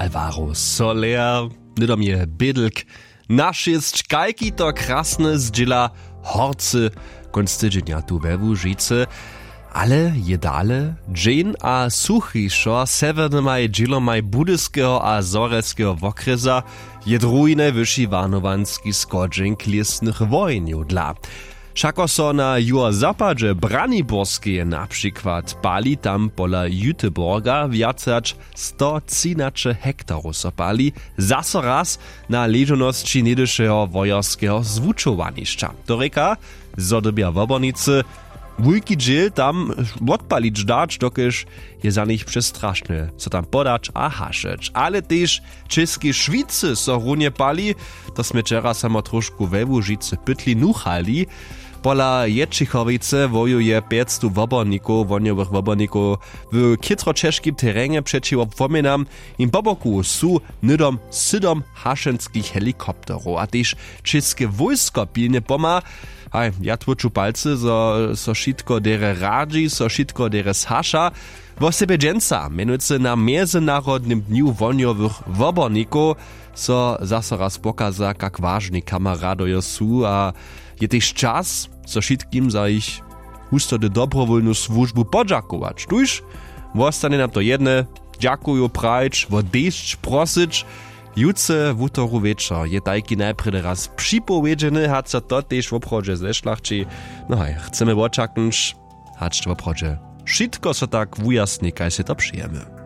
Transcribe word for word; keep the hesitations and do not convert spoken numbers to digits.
Twarow soler, hnydom je bědlk. Na šěsć, kajki to krasne zdźěla horcy kónc tydźenja tu we Łužicy. Ale je dale dźeń a suchišo sewjernymaj dźělomaj budyskeho a zhorjelskeho wokrjesa, je druhi najwyši warnowanski schodźenk lěsnych wohenjow dla. Wšako so na juhozapadźe Braniborskeje na přikład pali, tam pola Jüteborga wjace hač sto třinaće hektarow so pali, zaso raz na ležownosći něhdyšeho wojerskeho zwučowanišća. To rěka, zo dyrbja wobornicy wulki dźěl tam wotpalić dać, dokelž je za nich přestrašne so tam podać a hašeć. Ale tež w Českej Šwicy so runje pali. To smy wčera samo trošku we Łužicy pytli nuchali. Pola Ječěchowicy wojuje pjećstow wobornikow, wohnjowych wobornikow, w chětroćežkim terenje přećiwo płomjenam. Jim po boku su hnydom sydom hašenskich helikopterow a tež česke wójsko pilnje pomha. Haj, ja tłóču palcy, zo so wšitko derje radźi, so wšitko derje zhaša. Wosebje dźensa, mjenujcy na mjezynarodnym dnju wohnjowych wobornikow, so zaso raz pokaza, kak wažni kameradojo su a je tež čas, so wšitkim za jich husto dobrowólnu słužbu podźakować. Tuž wostanje nam to jedne, dźakuju prajić, wo desć prosyć. Jutře wutoru wječor je tajki najprjedy raz připowědźeny, hač so to tež woprawdźe zešlachći. No haj, chcemy wočaknyć, hač to woprawdźe wšitko so tak wujasni, kaž sej to přejemy.